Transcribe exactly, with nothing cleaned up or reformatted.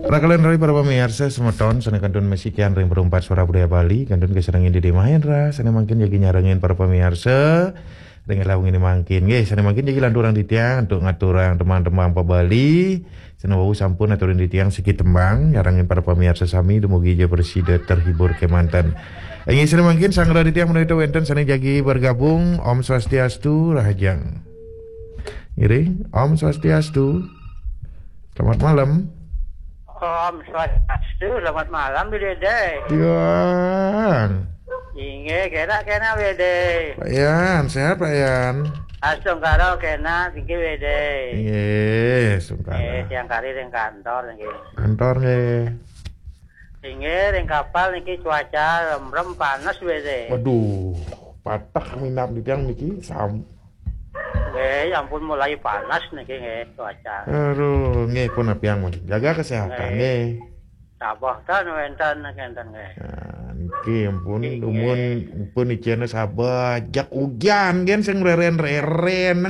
Rakalih rayi para pamiarsa semeton sané kantun masikian ring Perumpat Suara Budaya Bali, kantun kasarengin Dede Mahendra, sané mangkin jagi nyarengin para pamiarsa ring lawung ini mangkin. Nggih, sané mangkin jagi lanturang titiang antuk ngaturang tembang-tembang pa Bali. Sané wau sampun aturin titiang siki tembang, nyarengin para pamiarsa sami dumugi ja prasida terhibur kémanten. Inggih, sané mangkin sanggra titiang menawi wénten sané jagi bergabung. Om Swastiastu, rahajeng. Ngiring, Om Swastiastu. Selamat malam. Om Swastiastu, selamat malam, Bli Dede. Yan. Inggih, kénak-kénak, Bli Dede. Pak Yan, sehat, Pak Yan? Astungkara kénak, inggih, Bli Dede. Inggih, astungkara. Inggih, tiang kari ring kantor, inggih. Kantor, nggih. Inggih, ring kapal niki cuaca remrem panas, Bli Dede. Waduh, patah minab di tiang niki, sam- Nggih, ampun mulai panas niki nggih cuaca. Aduh, nggih pun apiang mun. Jaga kesehatan nggih. Nggih. Tabah tan wénten kénten nggih. Nah, niki ampun. Nggih. Dumun pun icéné sabajak ujan gén sing reren-reren.